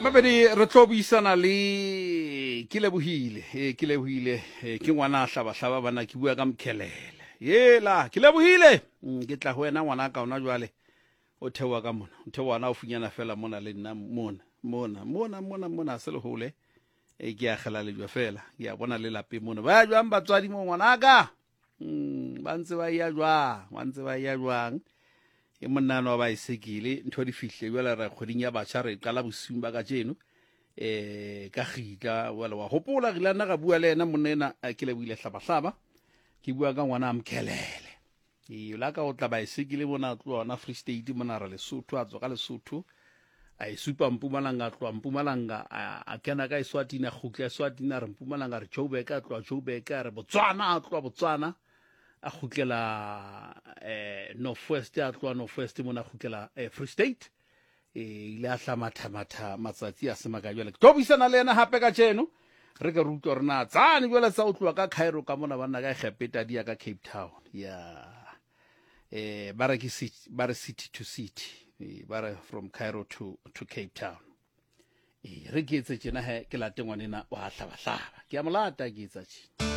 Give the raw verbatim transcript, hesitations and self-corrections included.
Mabedi re tlo buisana le ke lebohile, eh, ke lebohile, eh, ke ngwana a hlabahlaba bana, ke bua ka Mkhelele. Yela, ke lebohile. Mm, ke tla ho wena ngwana ka ona jwale. O theoha ka mona, o theoha na o funyana fela mona le nna mona, mona, mona, mona, mona se le hole. E ke a kgela lejwa fela, ke a bona le lapeng mona. Ba ya jwang batswadi mo ngwanaka? Mm, ba ntse ba ya jwang, ba ntse ba ya jwang. E monna wa baesekele ntho di fihle jwale re kgweding ya batjha re qala bosiung ba kajeno eh ka kgitla wala wa hopola re ile nna ra bua le yena monna ena eh, ke lebohile hlabahlaba ke bua ka ngwana a Mkhelele. E la ka o tla baesekele mona a tloha hona Free State mona re Lesotho, a tswa ka Lesotho a e supa Mpumalanga, a tloha Mpumalanga a a kena ka Eswatini, a kgutla Eswatini, a re Mpumalanga, a re Joburg, a tloha Joburg, a re Botswana, a tloha Botswana a kgutlela eh North West, a tloha North West mona a kgutlela eh, Free State. E ile a hlamathamatha matsatsi a se makae. Jwale ke tlo buisana le yena hape kajeno re ke re utlwe hore na tsane jwale tsa o tloha ka Cairo ka mona banna ka Egepeta di ya ka Cape Town ya eh ba re ke city, ba re city to city, eh, ba re from Cairo to to Cape Town. E re ke etse tjena he ke late ngwanena wa hlabahlaba, ke a mo lata ke etsa tjena.